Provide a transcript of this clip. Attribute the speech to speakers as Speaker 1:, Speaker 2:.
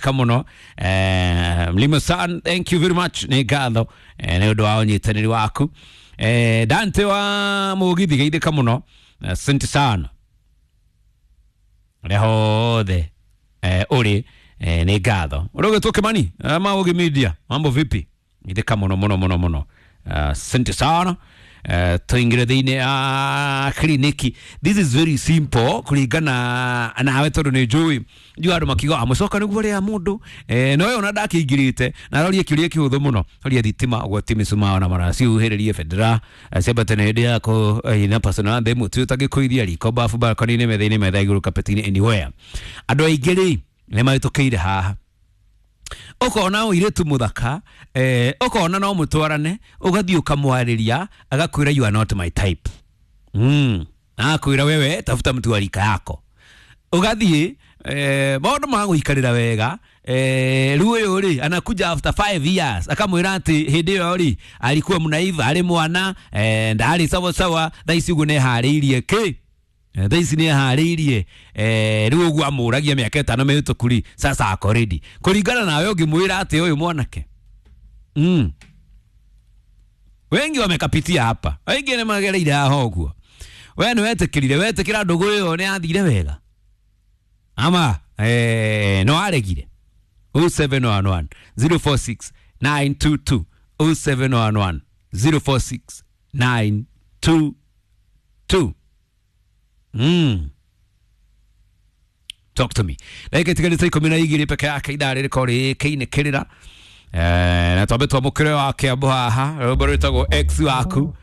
Speaker 1: Kamuno Mlima San, thank you very much, nĩ ngatho nĩ ũndũ wa ũnyitanĩri waku. Dante wa Mũgithi, geithĩka mũno, asante sana rĩa hothe ũrĩ, nĩ ngatho. Ũrũgĩtwo Kimani Maũgĩ Media, mambo vipi? Geithĩka mũno mũno mũno mũno, asante sana. Tuingire thĩinĩ ya kliniki. This is very simple kũringana nawe, tondũ nĩ njũĩ njũĩ andũ makiuga amũcoka nĩguo rĩa mũndũ no we ona ndakĩingĩrĩte na aroria kĩũria kĩhũthũ mũno. Horia thitima, ũgwati mĩcumaa na maracihuhĩrĩrie bendera ciambate na hĩndĩ yako ina personal thĩ mũtĩ ũtangĩkũithia riko, bafu, balcony-inĩ, metha-inĩ, metha igũrũ, kapeti-inĩ, anywhere. Andũ aingĩ rĩ nĩ mahĩtũkĩire haha. Ũkona mũirĩtu mũthaka, ũkona no mũtwarane, ũgathiĩ ũkamwarĩria, agakwĩra, "You are not my type." Agakwĩra, "Wewe tafuta mtu wa rika yako." Ũgathiĩ maũndũ magũikarĩra wega, rĩu ũyũ rĩ anakuja after 5 years akamwĩra atĩ hĩndĩ ĩyo rĩ alikuwa mnaiva, arĩ mwana, ndarĩ sawa sawa, thaa ici ũguo nĩeharĩirie kĩ. Thaa ici nĩeharĩirie, rĩu ũguo amũragia mĩaka 5 mĩhĩtũku rĩ, sasa ako ready. Kũringana nawe ũngĩmwĩra atĩ ũyũ mwanake? Wengi wamekapitia hapa, wengi nĩ magereire haha ũguo. We nĩ wetĩkĩrire, wetĩkĩra ndũgũ ĩyo nĩ yathire wega ama no aregire? 0711 046 922, 0711 046 922. Talk to me. Ndagĩka itigarĩte 12 peke yake ithaa rĩrĩkorwo rĩkĩinĩkĩrĩra, na twambe twamũkĩre wa Kĩambu haha, rwĩmbo rwĩtagwo Ex Waku.